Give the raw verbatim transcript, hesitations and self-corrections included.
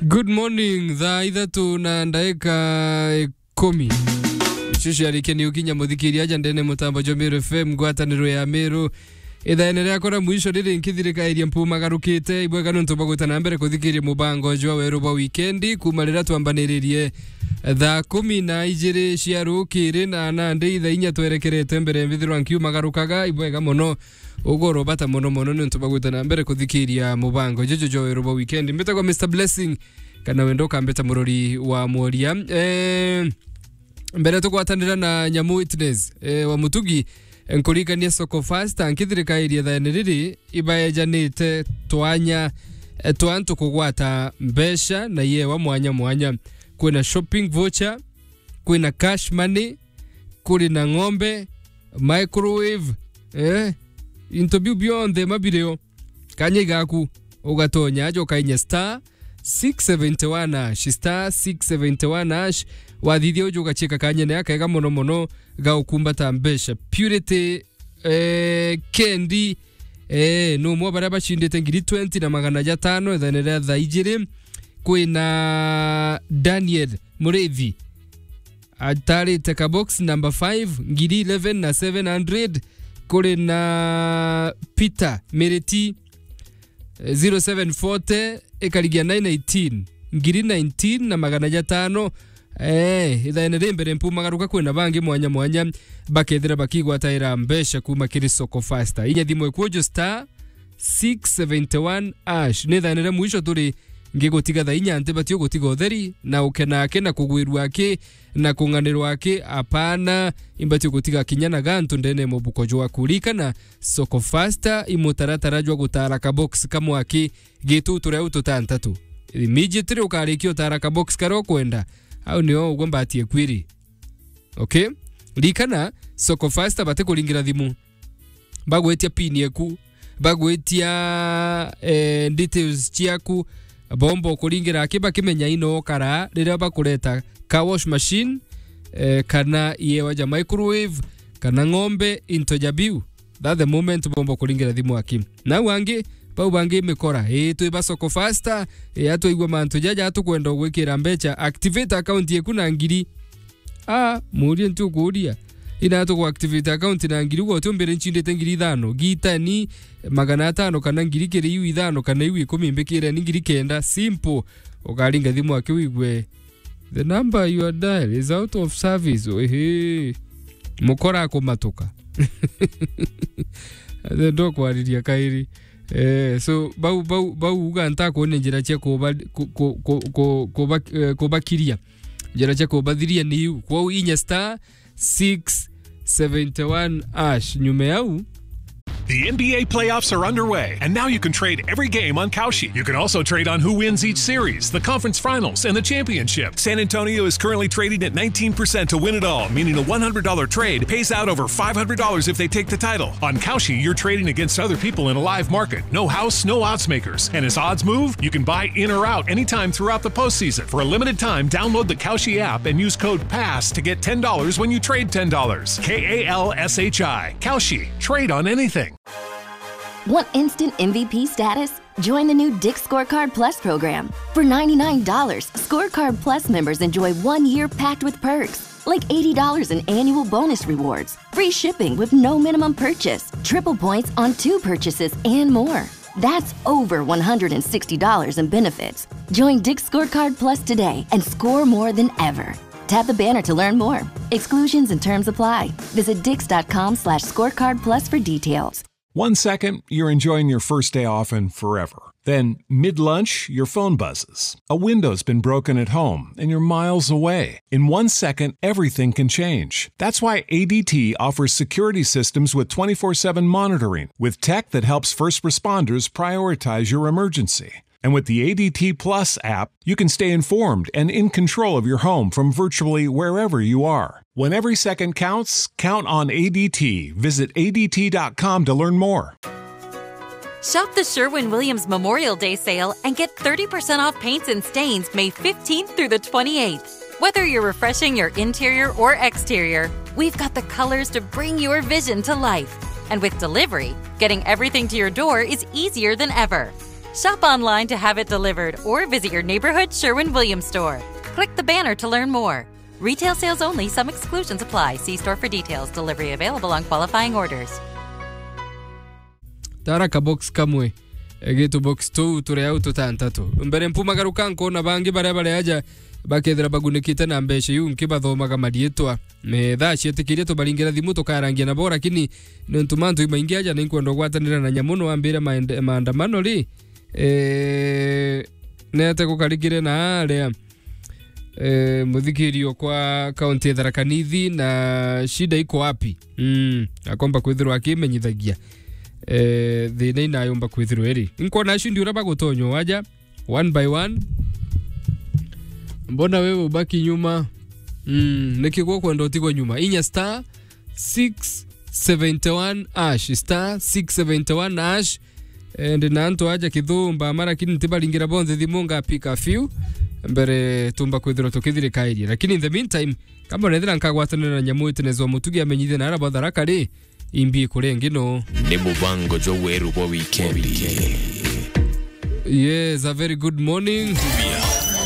Good morning, thaa ithatu na ndaika ikumi. Icio ciarikia ni ukinya muthikiria aja ndene mutambo jwa Meru F M, ngwataniro ya Meru. Ithaene riakwa ria mwisho riri nkithirikairie mpumagarukite, ibwega nontu bwa gwita na mbere kuthikiria mubango jwa weru bwa wikendi, kuma riria twambaniririe thaa kumi na ijiri cia rukiri, na nandi ithaa inya twerekerete mbere mbithirwa nkiumagarukaga, ibwega mono. Ugoro bata mono mono nontu bwa gwita na mbere kuthikiria mubango juju jwa weru bwa wikendi. Mbitagwa Mister Blessing, kana wenda ukambita murori wa mworia. Eh, mbere tugwatanira na Nyamu Witness, eh, wa Mutugi, eh, nkuririkania Soko Fasta, nkithirikairie thaene riri, ibaejanite twanya, eh, twa antu kugwata mbeca na iewa mwanya mwanya. Kwina shopping voucher, kwina cash money, kuri na ng'ombe, microwave, eh, into biu bionthe mabirio. Kanya igaku, ugatonya aja ukainya star six seventy one hash, star six seventy one hash. Wathithia uju ugachiika kanyene akega mono mono ga ukumbata mbeca. Purity, eh, Kendi, eh, ni umwe wa baria bacindite ngiri twenty na magana jatano ithaene ria thaa ijiri. Kwina Daniel Murithi, atarite ka box number five, ngiri eleven na seven hundred. Kuri na Peter Miriti, eh, zero seven forty, ikarigia nine eighteen, ngiri nineteen na magana jatano. Eh, ithaene ri mbere mpumagaruka, kwina bangi mwanya mwanya bakethira bakigwataira mbeca kuma kiri Soko Fasta. Inya thimu ikuju star six seventy one hash. Ni thaene ria mwisho turi ngigutiga thaa inya, ntibatie gutiga utheri na ukena aki na kugwirua aki na kung'anirwa aki, apana, imbatie gutiga kinya na gantu ndene ya mubuko jwaku. Ririkana, Soko Fasta i mutaratara jwa gutara ka box kamwe aki gitu turia u tutantatu. Immediately ukarikia utara ka box karia ukwenda, au nio ugwe mbatie kwiri. Okay? Ririkana, Soko Fasta batikuringira thimu. Bagwitia pin yeku, bagwitia, eh, details ciaku, bomba ukuringira aki bakimenya ino ukara riria bakureta car wash machine, eh, kana iewa ja microwave, kana ng'ombe, into ja biu. That the moment bomba kuringira thimu aki. Nau angi, bau bangi mikora, ii, twi ba Soko Fasta, ii, atwaigua mantu jaja, atukwenda ugwikira mbeca, activate account yeku na ngiri. Ah, muurie nti ukuuria. Ina tuku activate account na ngiri, ugo utiumbire nchindite ngiri ithano. Gitani magana atano kana ngiri kiri iu ithano kana iu ikumi, mbikire ni ngiri kenda. Simple. Ukaringa thimu aki wigue, "The number you are dial is out of service." Ehe. Mukora akumatuka. Athe ndokwariria kairi. Eh, so, bau, bau, bau uga ntakuonia njira cia kuba-, ku-, ku-, ku-, ku-, kuba-, eh, kubakiria. Njira cia kubathiria ni iu. Kwou inya star six seventy one hash. Nyuma yau. The N B A playoffs are underway, and now you can trade every game on Kalshi. You can also trade on who wins each series, the conference finals, and the championship. San Antonio is currently trading at nineteen percent to win it all, meaning a one hundred dollar trade pays out over five hundred dollars if they take the title. On Kalshi, you're trading against other people in a live market. No house, no odds makers. And as odds move, you can buy in or out anytime throughout the postseason. For a limited time, download the Kalshi app and use code pass to get ten dollars when you trade ten dollars. K A L S H I. Kalshi. Trade on anything. Want instant M V P status? Join the new Dick's Scorecard Plus program. For ninety-nine dollars, Scorecard Plus members enjoy one year packed with perks, like eighty dollars in annual bonus rewards, free shipping with no minimum purchase, triple points on two purchases, and more. That's over one hundred sixty dollars in benefits. Join Dick's Scorecard Plus today and score more than ever. Tap the banner to learn more. Exclusions and terms apply. Visit dicks dot com slash scorecard plus for details. One second, you're enjoying your first day off and forever. Then, mid-lunch, your phone buzzes. A window's been broken at home and you're miles away. In one second, everything can change. That's why A D T offers security systems with twenty-four seven monitoring, with tech that helps first responders prioritize your emergency. And with the A D T Plus app, you can stay informed and in control of your home from virtually wherever you are. When every second counts, count on A D T. Visit A D T dot com to learn more. Shop the Sherwin Williams Memorial Day sale and get thirty percent off paints and stains May fifteenth through the twenty-eighth. Whether you're refreshing your interior or exterior, we've got the colors to bring your vision to life. And with delivery, getting everything to your door is easier than ever. Shop online to have it delivered or visit your neighborhood Sherwin Williams store. Click the banner to learn more. Retail sales only, some exclusions apply. See store for details. Delivery available on qualifying orders. Tara ka box kamwe. Egitu box tu turi au tutantatu. Mbere mpumagaruka nkona bangi baria bari aja bakethira bagunikite na mbeca iu nkibathomaga mariitwa. Me thaa cietikirie tubaringira thimu tukarangia nabo, lakini nontu mantu imaingi aja ninkwenda kugwatanira na nyamu no ambire maende- maandamano ri. Eh, nete gukarikire na aria eh, muthikirio kwa kaunti ya Tharaka Nithi na shida iko wapi? Mm, akomba kwithirwa akimenyithagia eh, thina inayomba kwithirwa iri. Nkona acio ndi uria bagutonywa waja one by one. Mbona wewe ubaki nyuma? Mm, niki gwo kwenda utigwe nyuma? Inya star six seventy one hash, star six seventy one hash. Eh, ndi na antu aja kithumba ama, lakini ntibaringira bonthe thimu, ngapika few mbere tumba kwithirwa tukithirikairie. Lakini in the meantime, kamba nethira nkagwatanira na nyamu itinezwa mutugi amenyithie na ara batharaka ri, imbi kuria ingi no. Ni mubango jwa weru bwa wikendi. Yes, a very good morning.